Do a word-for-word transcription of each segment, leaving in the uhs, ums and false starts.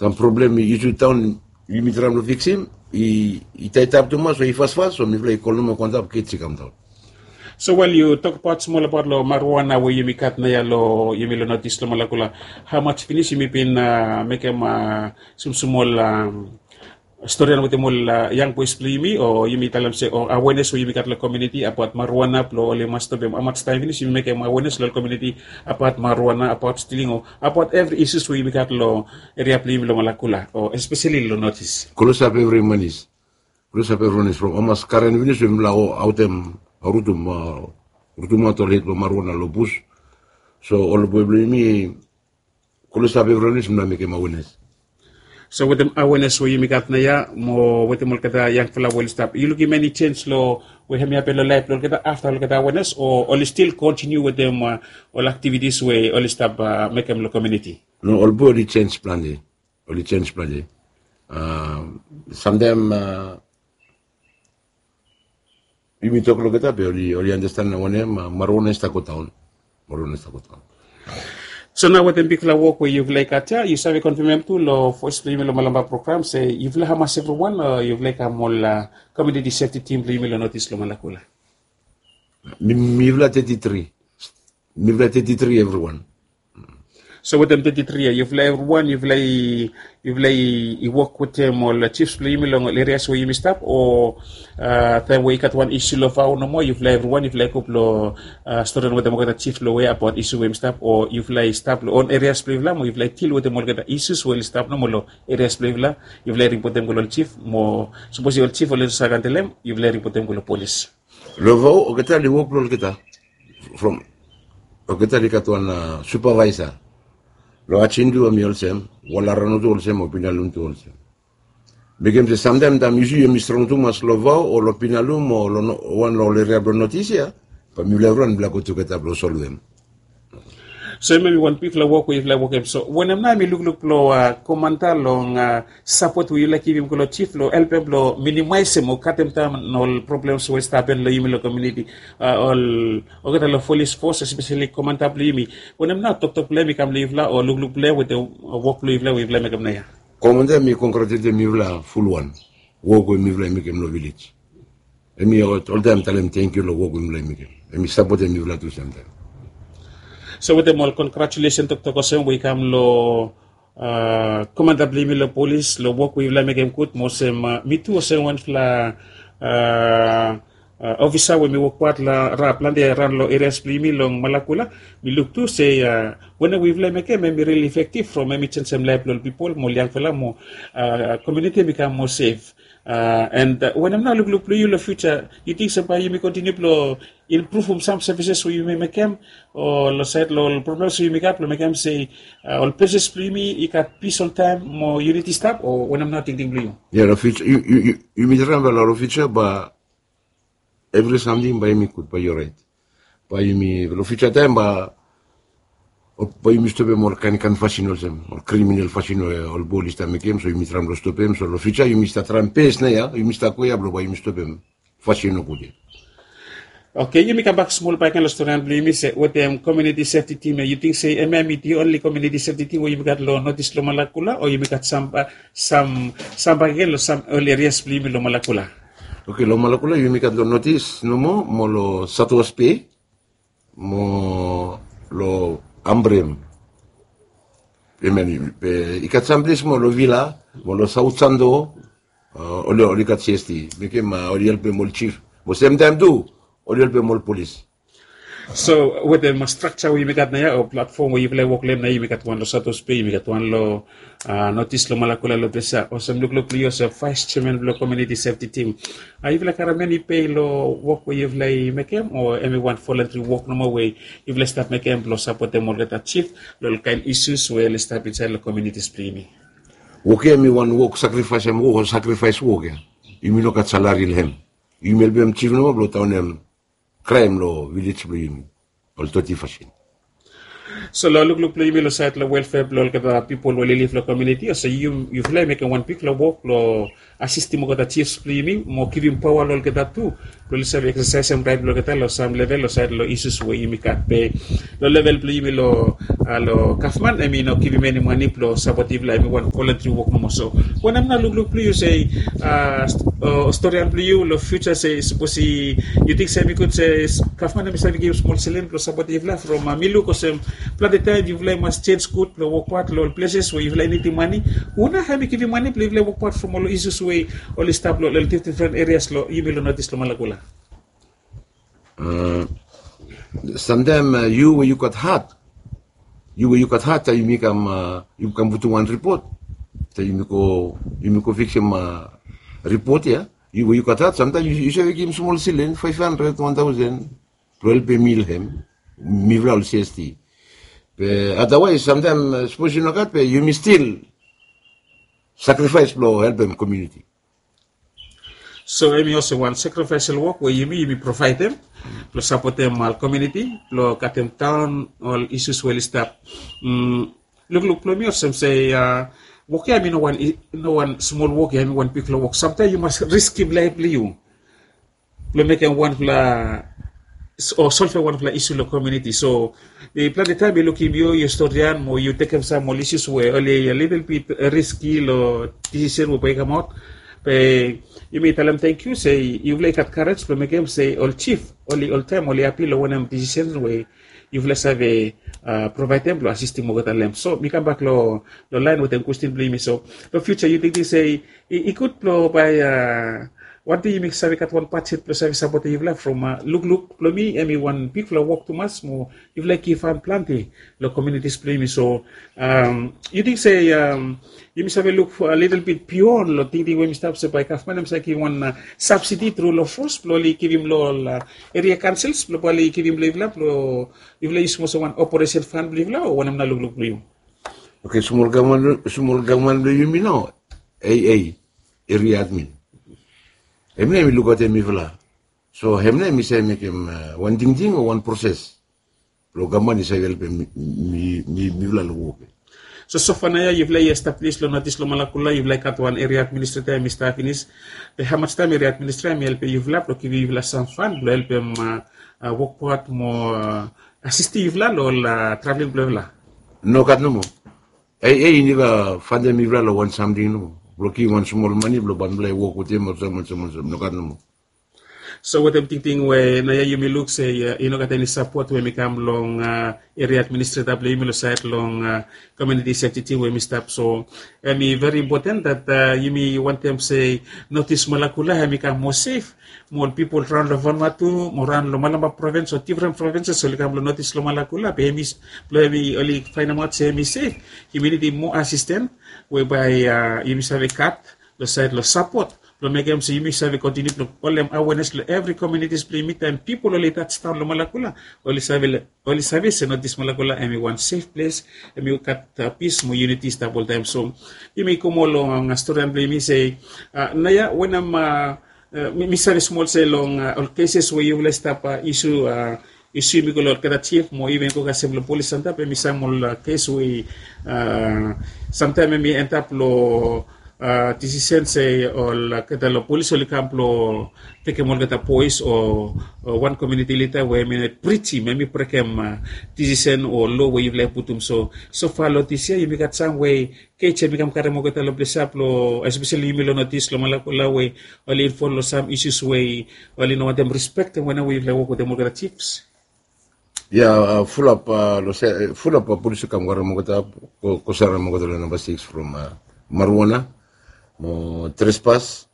Sam problem i isu taon, yumi traem long fiksim. I taitap tumas o i fasfas, so mifala i kol nomo kontap kits i kamdaon. So wel, yu tokbaot smol abaot long marijuana we yumi gat naoia long yumi long notis long Malakula. Hamas finis yumi bin mekem smosmol storian wetem ol yang bois blong yumi, o yumi talem se o awenes we yumi gat long komiuniti abaot marijuana blong oli mas stopem? Hamas taem finis yumi mekem awenes long komiuniti abaot marijuana, abaot stiling, o abaot evri isus we yumi gat long eria blong yumi long Malakula, o espeseli long notis? Klosap evri manis. Klosap evri manis from hamas karen finis we mifala o aotem, rutum, rutumaot ol hed blong marijuana long bus. So ol boe blong yumi klosap evri manis, mifala mekem awenes. So wetem awenes we yumi gat naoia mo wetem olgeta yangfala we oli stap, yu lukim eni sens long we hemi hapen long laef blong olgeta afta olgeta awenes, o oli stil kontiniu wetem ol aktivitis we oli stap mekem long komiuniti? No, ol boe oli sens plante. Oli sens plante. Samtaem yumi tok long olgeta be oli, oli andastan wanem, marijuana i stap godaon. Marijuana i stap godaon. So nao wetem bigfala wok we yufala i gat ia, yu save konfemem tu long fes blong yumi long Malampa program se yufala hamas evriwan, o yufala i kam ol komiuniti sefti tim blong yumi long notis long Malakula? Mifala teti tri. Mifala teti tri evriwan. So wetem teti tri ia, yufala evriwan yufala i, yufala i wok wetem ol jifs blong yumi long ol erias we yumi stap, o taem we i gat wan isu long Vao nomo yufala evriwan yufala i go blong storian wetem olgeta jif long we abaot isu we yumi stap, o yufala i stap long on erias blong yufala mo yufala i dil wetem olgeta isus we oli stap nomo long erias blong yufala? Yufala i ripotem go long ol jif mo sapos i ol jif oli no save handelem, yufala i ripotem go long polis. Long Vao olgeta oli wok blong olgeta. From olgeta oli gat wan supavaesa. Long Ajindu hemi olsem, Walarano tu olsem, o Pinalum tu olsem. Mekem se samtaem taem yu si yumi strong tumas long Vao o long Pinalum o long wan long ol eria blong notis ia, bae mifala evriwan mifala go tugeta blong solvem. So hemia hemi wan bigfala wok we yufala i wokem. So wanem nao hemi lukluk blong komanda long sapot we yufala i givim go long jif blong helpem blong minimaesem o katem daon ol problems we i stap hapen long yumi long komiuniti, ol olgeta long polis fos, espeseli komanda blong yumi? Wanem nao toktok blong hem i kam long yufala o lukluk blong hem wetem wok blong yufala we yufala i mekem naoia? Komanda, mi kongratuletem yufala fulwan. Wok we mifala i mekem long vilej, hemi oltaem talem tangkiu long wok we mifala i mekem. Hemi sapotem mifala tu samtaem. So wetem ol kongratulesen toktok olsem we i kam long komanda blong yumi long polis long wok we yufala i mekem gud, mo olsem mi tu olsem wanfala ofisa we mi wokbaot long plante raon long erias blong yumi long Malakula, mi luk tu se wanem we yufala i mekem hemi rili efektif from hemi jenisim laef blong ol pipol mo ol yangfala mo komiuniti hemi kam moa sef. And wanem nao lukluk blong yu long fiuja? Yu ting se bae yumi kontiniu blong impruvum sam sevises we yumi mekem, o long saed long ol problems we yumi gat blong mekem se ol ples blong yumi i gat pis oltaem mo yuniti i stap, o wanem nao tingting blong yu? Ia, long fiuja yumi traem bae long fiuja bae evri samting bae yumi gud, bae i orait. Bae yumi long fiuja taem bae yumi stopem ol kaenkaen fasin olsem, ol kriminal fasin we ol boe oli stap mekem, so yumi traem long stopem. So long fiuja yumi stap traem bes naoia, yumi stap go ia blong bae yumi stopem fasin nogud ia. Oke, yumi kambak smol bakegen long storian blong yumi se wetem komiuniti sefti tim ia, yu ting se hemia hemi di onli komiuniti sefti tim we yumi gat long notis long Malakula, o yumi gat sam, sam bakegen long sam ol erias blong yumi long Malakula? Oke, long Malakula yumi gat long notis nomo mo long South West Bay mo long Ambrym. Hemia i gat sam ples mo long Vila mo long South Santo. Oli gat CST, mekem oli helpem ol jif mo semtaem tu oli helpem ol polis. So wetem strakja we yumi gat naoia o platfom we yufala i wok long hem naoia, yumi gat wan long South West Bay, yumi gat wan long notis long Malakula long ples ia. Olsem lukluk blong yu olsem vaes jeaman blong komiuniti sefti tim, yufala karem eni pei long wok we yufala i mekem, o hemi wan volentri wok nomo we yufala i stap mekem blong sapotem olgeta jif long ol kaen isus we oli stap insaed long komiunitis blong yumi? Wok ia hemi wan wok, sakrifaesem wok o sakrifaes wok ia. Yumi no gat salari long hem. Yumi helpem jif nomo blong daonem kraem long vilej blong yumi. Ol doti fasin. So long lukluk blong yumi long sait long welfea blong olgeta pipol we oli liv long komuniti, olsem yufala i mekem wan bigfala wok long asistim olgeta jifs blong yumi mo givim paoa long olgeta tu blong oli save eksasaesem raet blong olgeta long sam level long sait long isus we yumi gat. Be long level blong yumi long gavman, em i no givim eni mane blong sapotem yufala, em i wan voluntary wok nomo. So wanem nao lukluk blong yu se, storian blong yu long fiuja se sapos yu ting se em i gud se gavman em i save givim smol silen blong sapotem yufala from mi luk olsem plante taem yufala i mas jenis gud blong wokbaot long ol pleses we yufala i nidim mane. Hu nao hem i givim mane blong yufala i wokbaot from ol isus we oli stap long ol difdifren erias long yumi long notis long Malakula? Samtaem yu we yu gat hat, yu we yu gat hat taem yumi kam, yu kam putum wan ripot, taem yumi go, yumi go fiksim ripot ya. Yu we yu gat hat samtaem yu save givim smol silen faef handred, wan taosen blong helpem mil hem mifala ol cst. Be adawaes samtaem sapos yu no gat be yumi stil sakrifaes blong helpem komuniti. So em i olsem wan sakrifaesel wok we yumi yumi provaedem blong sapotem ol komuniti blong katem daon ol isus we oli stap. Lukluk blong mi olsem se wok ya em i no wan, no wan smol wok ya, em i wan bigfala wok. Samtaem yu mas riskim laef blong yu blong mekem wanfala o solvem wanfala isu long komuniti. So plante taem mi lukim yu, yu storian mo yu tekem sam ol isus we oli lidel bit riski long disisen we bae i kamaot. Be yumi talem tangkiu se yufala i gat karej blong mekem se ol jif oli oltaem oli hapi long wanem disisen we yufala save provaedem blong asistim olgeta long hem. So mi kambak long laen wetem kwestin blong yumi. So long fiuja yu tingting se i gud blong bae wan dei yumi save gat wan bajet blong save sapotem yufala from lukluk blong mi em i wan bigfala wok tumas mo yufala i givhan plante long komunitis blong yumi. So yu ting se yumi save luk lidel bit bion long tingting we yumi stap se bae gavman em save givim wan sabsidi tru long fos blong oli givim long ol eria kaonsils blong bae oli givim long yufala blong yufala i yusim olsem wan operesen fan blong yufala o wanem nao lukluk blong yu? Oke, smol gavman blong yumi nao, aa, eria admin, hem nao hem i lukaotem mifala. So hem nao hem i save mekem wan tingting o wan proses blong gavman i save helpem mifala long wok ya. So sofa naoia yufala i establis long notis long Malakula, yufala i gat wan eria administreta hem i stap finis. Be hamas taem eria administreta hem i helpem yufala blong givim yufala sam fan blong helpem wokbaot mo asistim yufala long ol traveling blong yufala? Nogat nomo. Aa, i neva fantem mifala long wan samting nomo blong givim wan smol mane blong bae mifala i wok wetem olsem olsem olsem, nogat nomo. So wetem tingting we naoia yumi luk se i no gat eni sapot we hem i kam long eria administreta blong yumi long sait long komuniti sefti tim we hem i stap. So hem i veri impoten dat yumi wantem se notis Malakula hem i kam moa sef mo ol pipol raon long Vanuatu mo raon long Malampa provins o difren provinses oli kam long notis long Malakula be hem i blong hem i oli faenemaot se hem i sef, yumi nidim moa asisten we bae yumi save gat long sait long sapot blong mekem se yumi save kontiniu blong holem awenes long evri komunitis blong yumi taem pipol oli tas daon long Malakula oli save se notis Malakula hem i wan sef ples, hem i gat pis mo yuniti i stap oltaem. So yumi go moa long storian blong yumi se naoia wanem mi save smol se long ol keses we yufala i stap isu, isu yumi go long olgeta jif mo iven go kasem long polis antap hem i sam ol kes we samtaem hem i antap long disisen se olgeta long polis oli kam blong tekem olgeta boes o wan komuniti lida we hem i no prijim hem i brekem disisen o lo we yufala i putum. So sofa long dis yia yumi gat sam we kej hem i kam karem olgeta long ples ya blong espeseli yumi long notis long Malakula we oli invol long sam isus we oli no wantem rispektem wanem we yufala i wok wetem olgeta jifs. Ya, fulap, fulap polis i kam karem olgeta, go sarem olgeta long namba sikis from marijuana mo trespas.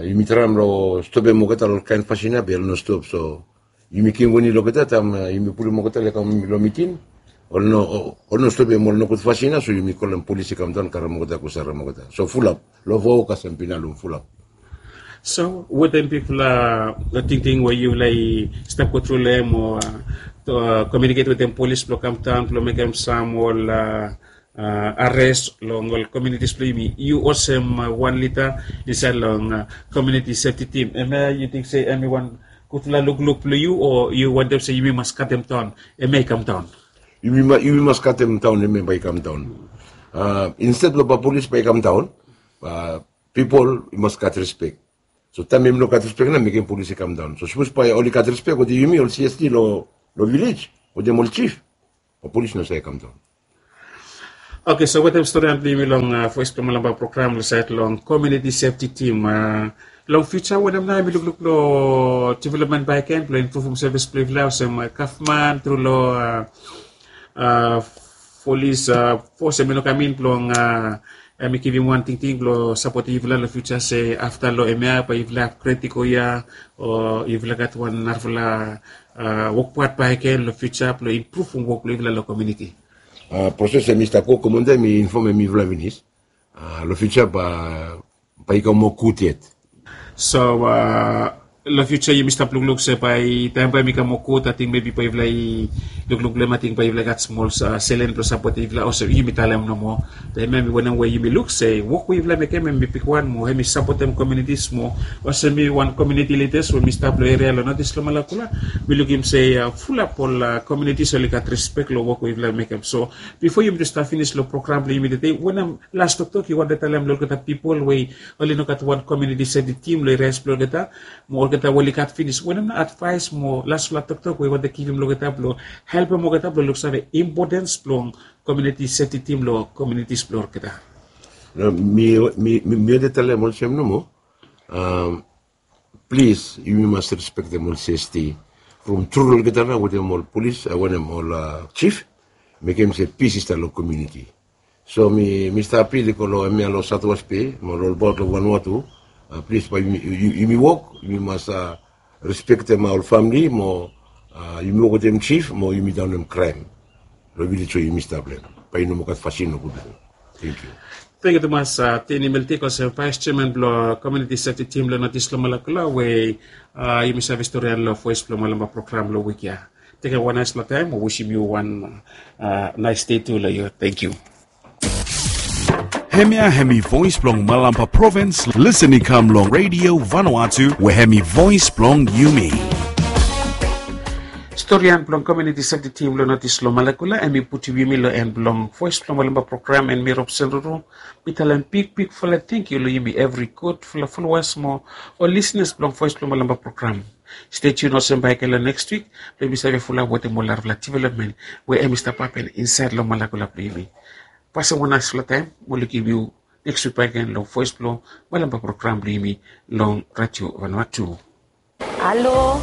Yumi traem long stopem olgeta long ol kaen fasin ya be oli no stop. So yumi givim wani long olgeta taem yumi pulum olgeta long kam long miting, oli no stopem ol nogud fasin ya. So yumi kolem polis i kamdaon karem olgeta go sarem olgeta. So fulap long vao kasem pinalum fulap. So wetem bigfala tingting we yufala i stap go tru long hem o komiuniket wetem polis blong kamdaon blong mekem sam ol ares long ol komiunitis blong yumi, yu olsem wan lida insaed long komiuniti sefti tim, hemia yu ting se hem i wan gudfala lukluk blong yu o yu wantem se yumi mas katem daon hemia i kamdaon? Yumi mas katem daon hemia bae i kam daon. Insted blong bae polis bae i kam daon, pipol i mas gat rispek. So taem yumi no gat rispek nao mekem polis i kam daon. So sapos bae oli gat rispek wetem yumi ol CST long vilej wetem ol jif, bae polis no save kam daon. Oke, so wetem storian blong yumi long voes blong malamba program long saed long komiuniti sefti tim, long fiuja wanem nao yumi lukluk long developmen bakegen blong impruvum sevis blong yufala olsem gavman tru long polis fos hemi no kam in blong hemi givim wan tingting blong sapotem yufala long fiuja se afta long hemia bae yufala apgred i go ia o yufala gat wan narafala wok pat bakegen long fiuja blong impruvum wok blong yufala long komiuniti. Proses hemi stap go komunda hemi infomem yufala finis. Long fiuja bae i kam moa gud yet. So long fiuja yumi stap lukluk se bae taem bae hemi kam moa gud, ating mebi bae yufala i lukluk long hem, ating bae yufala i gat smol selen blong sapotem yufala olsem yumi talem nomo. Taem hemi wanem we yumi luk se wok we yufala mekem hemi bigwan mo hemi sapotem komiunitis mo. Olsem mi wan komiuniti lidas we mi stap long eria long notis long Malakula, mi lukim se fulap ol komiunitis oli gat rispek long wok we yufala mekem. So bifo yumi tu stap finis long program blong yumi tede, wanem las toktok yu wantem talem long olgeta pipol we oli no gat wan komiuniti sefti tim long erias blong olgeta, mo olgeta we oli gat finis, wanem nao advaes mo lasfala toktok we yu wantem givim long olgeta blong helpem olgeta blong luksave impotens blong komiuniti sefti tim long komiunitis blong olgeta? Mi wantem talem olsem nomo. Plis yumi mas rispektem ol CST from tru long olgeta nao wetem ol polis, wanem, ol jif, mekem se pis i stap long komiuniti. So mi stap apil i go long hemia long Sautwes Bei mo long olbaot long Vanuatu. Plis bae yumi wok, yumi mas rispektem ol famili mo yumi wok wetem jif mo yumi daonem kraem long vilej we yumi stap long hem. Bae i no moa gat fasin nogud long hem. Tangkiu. Tangkiu tumas Teni Meltik, olsem vaes jeaman blong komiuniti sefti tim long notis long Malakula we yumi save storian long voes blong malamba program long wik ya. Tekem wan naesfala taem mo wisim yu wan naes dei tu long yu. Tangkiu. Hemia hemi voes blong malamba provins, lisin i kam long Redio Vanuatu we hemi voes blong yumi. Storian blong komiuniti sefti tim long notis long Malakula hemi putum yumi long en blong voes blong malamba program, and mi Robson Ruru, mi talem bigbigfala tangkiu long yumi evri gudfala folowas mo ol lisinas blong voes blong malamba program. Stay tuned olsem bakegen long next wik blong yumi save fulap wetem ol narafala developmen we hemi stap hapen insaed long Malakula blong yumi. Fasin wan naesfala taem mo lukim yu next wik bakegen long voes blong malamba program blong yumi long Radio Vanuatu. Alo,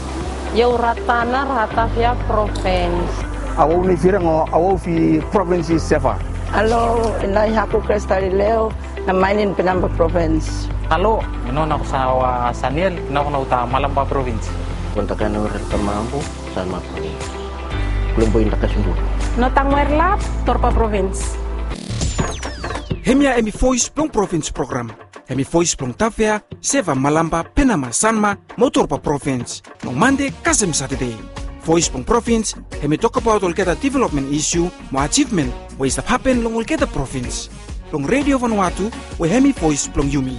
yau Ratana, Ratavia Provins. Awau ni firang o awau fi provins i Seva. Alo, ina i haku Krestalileo, na mainin Pinamba Provins. Alo, ino na kusawa Saniel, ina kuna uta Malamba Provins. Kontakan ur tamambu, Salma Provins. Kulumbu inda kasundu. Notang Werlap, Torpa Provins. Hemia hemi voes blong provins program. Hemi voes blong Tavea, Seva, Malamba, Penama, Sanma mo Torba provins long Mande kasem Satade. Voes blong provins hemi tokbaot olgeta developmen isu mo ajivmen we i stap hapen long olgeta provins. Long Redio Vanuatu we hemi voes blong yumi.